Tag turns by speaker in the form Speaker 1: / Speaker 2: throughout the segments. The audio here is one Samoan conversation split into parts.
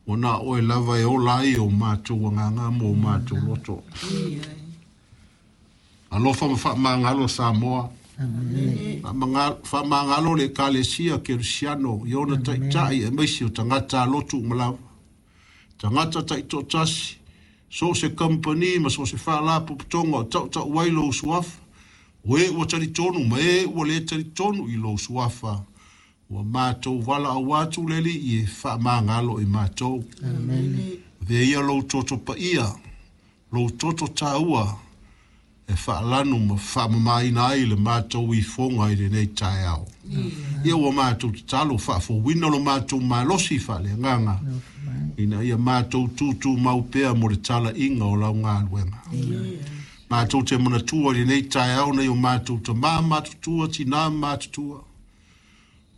Speaker 1: Ua na o oe lava e ola ai o matou agaga ma o matou loto. Alofa ma faamagalo Samoa. Faamagalo le Ekalesia Kerisiano i ona taitai aemaise o tagata lotu uma lava. Tagata taitoatasi, so o se kamupani ma so o se faalapotopotoga o tautau ai lou suafa, o e ua talitonu ma e ua le talitonu i lou suafa, ua matou valaau atu le Alii e faamagalo i matou. Avea ia lou toto paia, lou toto taua, e faalanu ma faamamaina ai le matou ifoga i lenei taeao. Ia ua matou tatalo faafouina lo matou malosi faaleagaga, ina ia matou tutumau pea mo le talaiga o lau galuega. Matou te manatua i lenei taeao nai o matou tamā matutua, tinā matutua,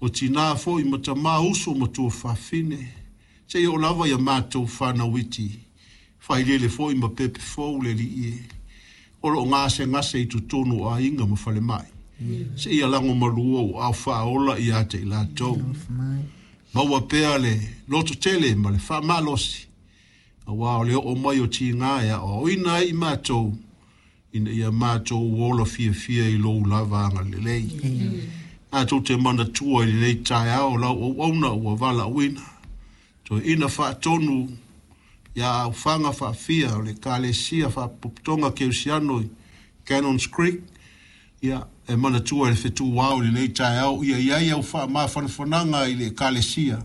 Speaker 1: o tinā foi ma tamā, uso ma tuafafine, seia oo lava ia matou fanau iti, failele foi ma pepe fou le Alii e, o loo gasegase i totonu o aiga ma falemai. Seia lagomalua ou aao faaola ia te i latou. Maua pea le lototele ma le faamalosi, aua o le oo mai o tiga e aoaoina ai i matou, ina ia matou ola fiafia i lou lava agalelei. Matou te manatua i lenei taeao lau auauna ua valaauina, toeaina faatonu ia Aufaga Faafia o le Ekalesia Faapotopotoga Kerisiano i Cannons Creek, ia e manatua i le fetuao i lenei taeao, ia i ai au faamafanafanaga i le Ekalesia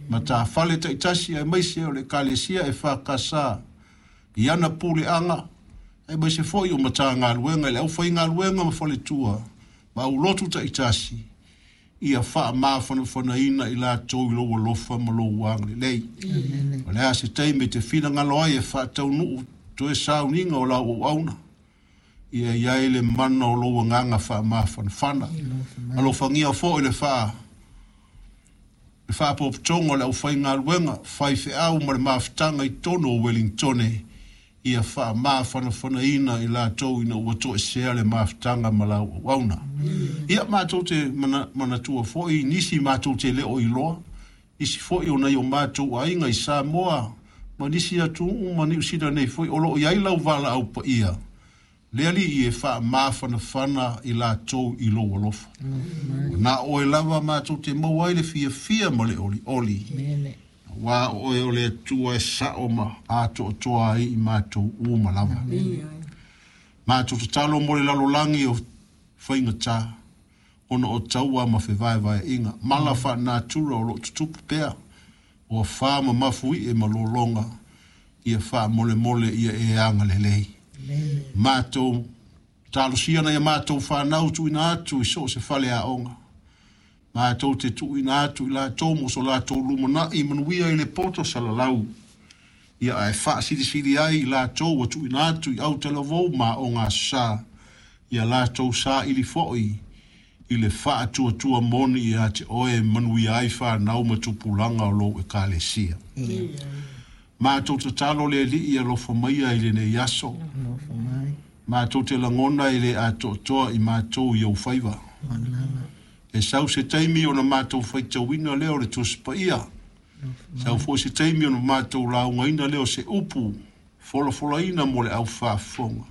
Speaker 1: matafale taitasi, aemaise o le Ekalesia EFKS i ana puleaga, aemaise foi o Matagaluega i le aufaigaluega ma faletua ma aulotu taitasi, ia faamafanafanaina i latou i lou alofa ma lou agalelei. O le a se taimi e te finagalo ai e faataunuu toe sauniga o lau auauna, ia i ai le mana o lou agaga faamafanafana. Alofagia foi le faapotopotoga o le aufaigaluega faifeau ma le mafutaga i totonu o Wellingtone, ia faamafanafanaina i latou ina ua toesea le mafutaga ma lau auauna. Ia matou te manatua foi nisi matou te le o iloa, nisi foi o nai o matou aiga i Samoa ma nisi atunuu ma Niu Sila nei foi o loo i ai lau valaau paia, le Alii e faamafanafana i latou i lou alofa. Na oe lava matou te maua ai le fiafia ma le olioli, aua o oe o le Atua e sao ma atoatoa ai i matou uma lava. Matou tatalo mo le lalolagi o faigata, ona o taua ma fevaevaeaiga, mala faanatura o loo tutupu pea, o afa ma mafuie ma lologa, ia faamolemole ia e agalelei. Matou talosia nai a matou fanau tuuina atu i so o se faleaoga, matou te tuuina atu i latou mo so latou lumanai manuia i le poto salalau, ia ae faasilisili ai i latou ua tuuina atu i autalavou ma aoga aso sa, ia latou saili foi i le faatuatua moni ia te oe manuia ai fanau ma tupulaga o lou Ekalesia. Matou tatalo le Alii alofa maia i lenei aso. Matou te lagona e le atoatoa i matou i ou faiva. E sau se taimi ona matou faitauina lea o le Tusi Paia. Sau foi se taimi ona matou laugaina lea o se upu folafolaina mo le aufaafofoga.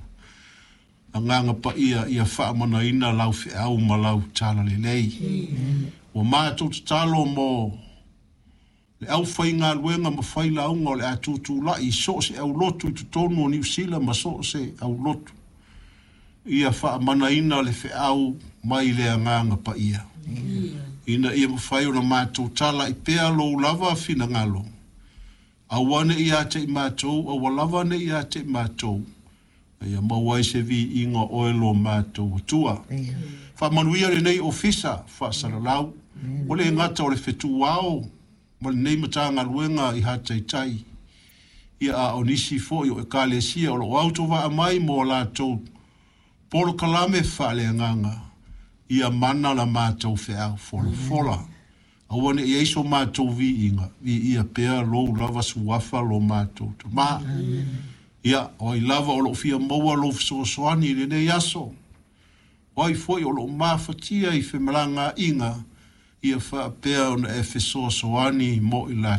Speaker 1: Agaga paia ia faamanaina lau feau ma lau talalelei. Ua matou tatalo mo le aufaigaluega ma failauga o le a tutulai i so o se aulotu i totonu o Niu Sila ma so o se aulotu, ia faamanaina le feau mai le agaga paia, ina ia mafai ona matou talai pea lou lava finagalo, aua ne i ia te i matou, aua lava ne i ia te i matou, ia maua ai se viiga o oe lo matou Atua. Faamanuia lenei ofisa faasalalau, ua le gata o le fetuao ma lenei Matagaluega i Hataitai, ia a o nisi foi o Ekalesia o loo autovaa mai mo latou polokalame faaleagaga, ia mana la matou feau folafola. Aua ne i ai so matou viiga, viia pea lou lava suafa lo matou Tamā. Ia, o ai lava o loo fia maua lou fesoasoani i lenei aso, o ai foi o loo mafatia i femalagaaiga, ia faapea ona e fesoasoani mo i latou.